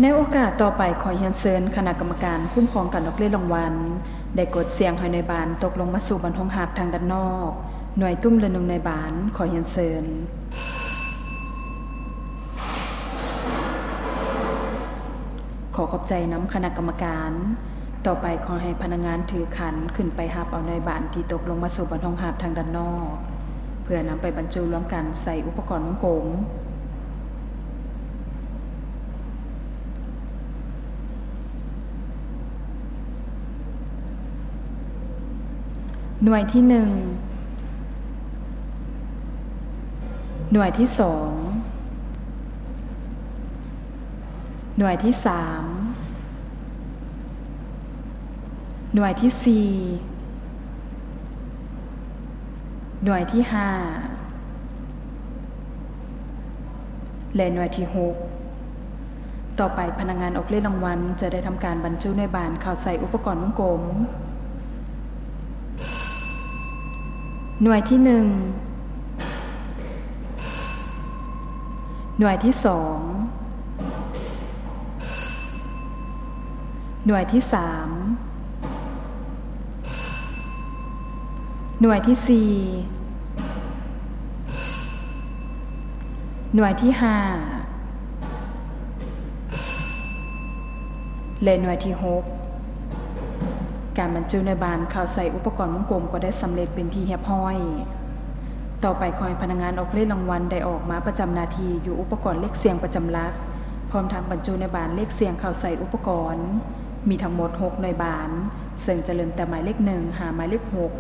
ໃນໂອກາດຕໍ່ໄປ ຂໍຮຽນເຊີນຄະນະກຳມະການຄຸ້ມຄອງການອອກເລກລາງວັນ ໄດ້ກົດສ່ຽງໃຫ້ໜ່ວຍບານຕົກລົງມາສູ່ບ່ອນໂຮງຮັບທາງດ້ານນອກ. ໜ່ວຍຕຸ້ມ ຫຼື ໜ່ວຍບານ ຂໍຮຽນເຊີນ. ຂໍຂອບໃຈນຳຄະນະກຳມະການ. ຕໍ່ໄປຂໍໃຫ້ພະນັກງານຖືຂັນຂຶ້ນໄປຮັບເອົາໜ່ວຍບານທີ່ຕົກລົງມາສູ່ບ່ອນໂຮງຮັບທາງດ້ານນອກ ເພື່ອນຳໄປບັນຈຸລວມກັນໃສ່ອຸປະກອນວົງກົມ. ໜ່ວຍທີໜຶ່ງ, ໜ່ວຍທີສອງ, ໜ່ວຍທີສາມ, ໜ່ວຍທີສີ່, ໜ່ວຍທີຫ້າ ແລະ ໜ່ວຍທີຫົກ. ຕໍ່ໄປພະນັກງານອອກເລກລາງວັນຈະໄດ້ທຳການບັນຈຸໜ່ວຍບານເຂົ້າໃສ່ອຸປະກອນວົງກົມ. ໜ່ວຍທີໜຶ່ງ, ໜ່ວຍທີສອງ, ໜ່ວຍທີສາມ, ໜ່ວຍທີສີ່, ໜ່ວຍທີຫ້າ ແລະ ໜ່ວຍທີຫົກ. ການບັນຈຸໜ່ວຍບານເຂົ້າໃສ່ອຸປະກອນວົງກົມກໍໄດ້ສຳເລັດເປັນທີ່ຮຽບຮ້ອຍ. ຕໍ່ໄປຂໍໃຫ້ພະນັກງານອອກເລກລາງວັນໄດ້ອອກມາປະຈຳໜ້າທີ່ຢູ່ອຸປະກອນເລກສ່ຽງປະຈຳຫຼັກ ພ້ອມທັງບັນຈຸໜ່ວຍບານເລກສ່ຽງເຂົ້າໃສ່ອຸປະກອນ. ມີທັງໝົດຫົກໜ່ວຍບານ, ເຊິ່ງຈະເລີ່ມແຕ່ໝາຍເລກໜຶ່ງຫາໝາຍເລກຫົກ.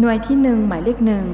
ໜ່ວຍທີໜຶ່ງ ໝາຍເລກໜຶ່ງ,